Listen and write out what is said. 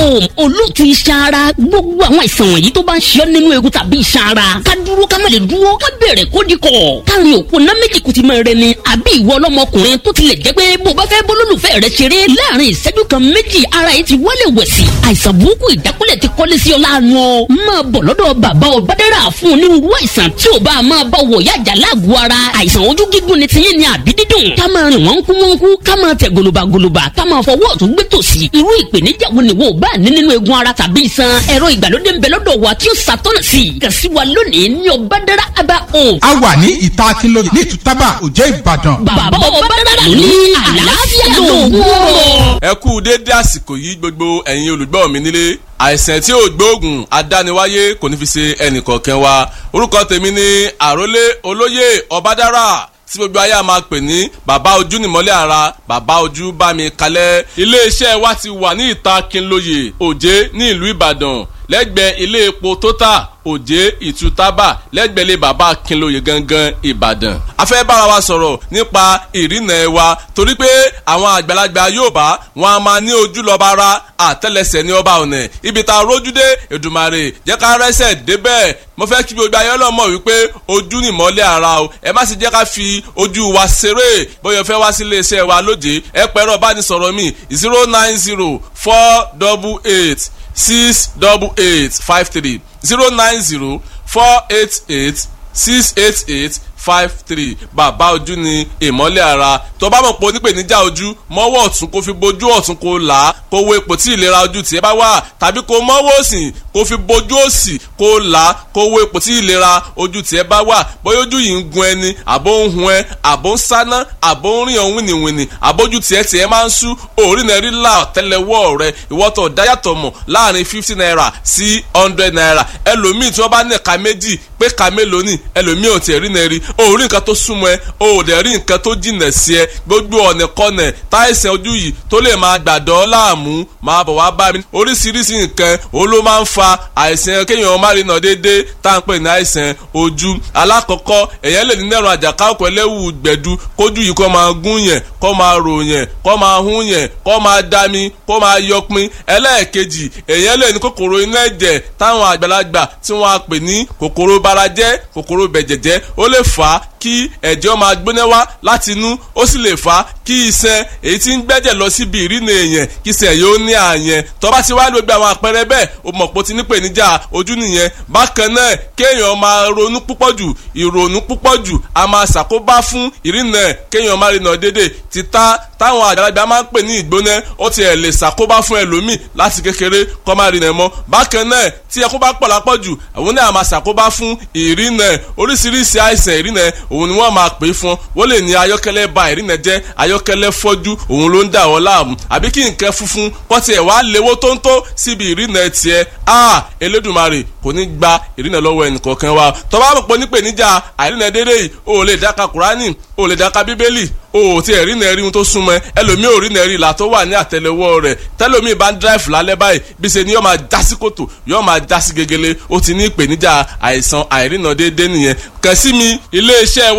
Home, olóòtú iṣan ara. Gbogbo àwọn àìsàn wọ̀nyí tó bá ń ṣe ọ́ nínú egun tàbí iṣan ara, ká dúró ká má lè dúró, ká bẹ̀rẹ̀ kó di kọ̀, káàrin òkú ná méjì kùtì máa rẹ ni. Àbí ìwọ ọlọ́mọkùnrin tó tilẹ̀ jẹ́ pé bó bá fẹ́ bólólùfẹ́ rẹ ṣeré láàrin ìṣẹ́jú kan méjì, ara yìí ti wálé wẹ̀sì. Àìsàn burúkú ìjákulẹ̀ ti kọ́lé sí ọ láàánú ọ. Máa bọ̀ lọ́dọ̀ bàbá Ọbádára fún onírúurú àìsàn tí ò bá máa bá wọ̀ yájà láàgọ̀ ara. Àìsàn ojú gígùn ni tiyín ni àbí dídùn, ká máa rìn wọ́n kú wọ́n kú, ká máa tẹ̀ gòlòbàgòlòbà, ká máa fọwọ́ ọ̀tún gbé tòsì. Irú ìpèníjà wo ni wo bá ní nínú egun ara tàbí iṣan? Ẹ̀rọ ìgbàlódé ń bẹ lọ́dọ̀ wa tí ó ṣàtọ́nà sí i. Kàn sí wa lónìí ní Ọbádára Aba Home. A wà ní ìta Akínlóye ní Ìtútàbà, Òjé, Ìbàdàn. Bàbá Ọbádára ló ní àlàáfíà lóògùn ọ̀rọ̀. Ẹ kú déédé àsìkò yìí, gbogbo ẹ̀yin olùgbọ́ mi nílé. Àìsàn tí ò gbóògùn adániwáyé kò ní fi ṣe ẹnìkọ̀ọ̀kan wa. Orúkọ tèmi ni Àrólé Olóyè Ọbádára, tí gbogbo ayé a máa pè ní Bàbá Ojú Nìmọ́lẹ̀ Ara, Bàbá Ojú Bá Mi Kalẹ̀. Iléeṣẹ́ wa ti wà ní ìta Kínlóye, Òjé, ní ìlú Ìbàdàn, lẹ́gbẹ̀ẹ́ ilé epo Total, Òjé Ìtútàbà, lẹ́gbẹ̀ẹ́ ilé bàbá Kínlóye gangan, Ìbàdàn. A fẹ́ bára wa sọ̀rọ̀ nípa ìrìnà ẹ̀ wa, torí pé àwọn àgbàlagbà Yorùbá wọn a máa ní ojú lọ́ba ara, àtẹ́lẹsẹ̀ ní ọba ọ̀nà. Ibi tá a rójú dé, Èdùmàrè jẹ́ ká rẹ́sẹ̀ débẹ̀. Mo fẹ́ kí gbogbo ayé ọlọ́mọ wípé ojú ni ìmọ́lẹ̀ ara o. Ẹ má sì jẹ́ ká fi ojú wa ṣeré. Bóyá o fẹ́ wá sí iléeṣẹ́ wa lóde, ẹ pẹ̀rọ bánisọ̀rọ̀ mi: 09048868853, 09048868853. Bàbá Ojú ni ìmọ́lẹ̀ ara. Tó bá mọ̀ pé onípèníjà ojú, mọ́wọ́ ọ̀tún kó fi bojú ọ̀tún, kó là á, kó wo ipò tí ìlera ojú tiẹ̀ bá wà, tàbí kó mọ́wọ́ òsì kó fi bojú òsì, kó là á, kó wo ipò tí ìlera ojú tiẹ̀ bá wà. Bóyá ojú yìí ń gun ẹni, àbó ń hun ẹ, àbó ń sáná, àbó ń rìn ọ̀hún wìnìwìnì, àbójú tiẹ̀ tiẹ̀ máa ń sú òórì náà rí là tẹ́lẹ̀wọ́ rẹ. Ìwọ́tọ̀ dáyàtọ̀ mọ̀ láàrin ₦50 sí ₦100. Ẹlòmíì tí wọ́n bá ní ẹ̀ka méjì pé ẹ̀ka mélòó ni ẹlòmíì ò tiẹ̀ rí náà rí. O ò rí nǹkan tó súnmọ́ ẹ, o ò dẹ̀ rí nǹkan tó jìnà sí ẹ. Gbogbo ọ̀nà kọ́nà táìsàn ojú yìí tó lè máa gbàdọ́ láàmú, máa bọ̀ wá bá mi. Oríṣiríṣi nǹkan òun ló máa ń fa àìsàn kéèyàn má rí nà déédéé tá à ń pè ní àìsàn ojú. Alákọ̀ọ́kọ́, èèyàn lè ní nẹ́rùn àjàká òkú ẹlẹ́wù gbẹ̀du, kójú yìí kó máa gún yẹn, kó máa rò yẹn, kó máa hún yẹn, kó máa dami, kó máa yọpin. Ẹlẹ́ẹ̀kejì, èèyàn lè ní kòkòrò inú ẹ̀jẹ̀ táwọn àgbàlagbà tí wọ́n á pè ní kòkòrò barajẹ́, kòkòrò bẹ̀jẹ̀jẹ́. Ó lè fà á kí ẹ̀jẹ̀ máa gbóná wá láti inú. Ó sì lè fà á kí iṣan èyí tí ń gbẹ́jẹ̀ lọ síbi ìrìnà èèyàn, kí iṣan yóò ní àyẹn. Tó bá ti wá gbogbo àwọn àpẹẹrẹ bẹ́ẹ̀, o mọ̀ pé o ti ní ìpèníjà ojú nìyẹn. Bákan náà, kéèyàn máa ronú púpọ̀ jù. Ìrònú púpọ̀ jù a máa ṣàkóbá fún ìrìnà, kéèyàn máa rìnà déédéé. Títà táwọn àgbàlagbà máa ń pè ní ìgbóná, ó ti ẹ̀ lè ṣàkóbá fún ẹlòmíì láti kékeré kó má rìnà mọ́. Bákan náà, tí ẹkún bá pọ̀ lápọ̀jù, àwọn náà máa ṣàkóbá fún ìrìnà. Oríṣiríṣi àìsàn ìrìnà òun ni wọ́n máa pè é fún. Wọ́n lè ní ayọ́kẹ́lẹ́ ba ìrìnà jẹ́, ayọ́kẹ́lẹ́ fọ́jú òun ló ń dà wọ́n láàmú, àbí kí nǹkan funfun kọ́ tiẹ̀ wá léwó tóńtó síbi ìrìnà tiẹ̀. A Elédùmarè kò ní gba ìrìnà lọ́wọ́ ẹnìkọ̀ọ̀kan wa. Tó bá mọ̀ pé onípèníjà àìrìnà dédé yìí, o ò lè dáka Kùránì, o ò lè dáka Bíbélì, o ò tiẹ̀ rí nẹ́ẹ̀rí ohun tó súnmọ́ ẹ. Ẹlòmíì ò rí nẹ́ẹ̀rí ìlà tó wà ní àtẹlẹwọ́ rẹ̀. Tẹlòmíì bá ń dráìfù lálẹ́ báyìí, bí ṣe ni yóò máa já sí kòtò, yóò máa já sí gegele. Ó ti ní ìpèníjà àìsàn àìrìnà déédéé nìyẹn. Kàn sí mi, iléeṣẹ́ wa.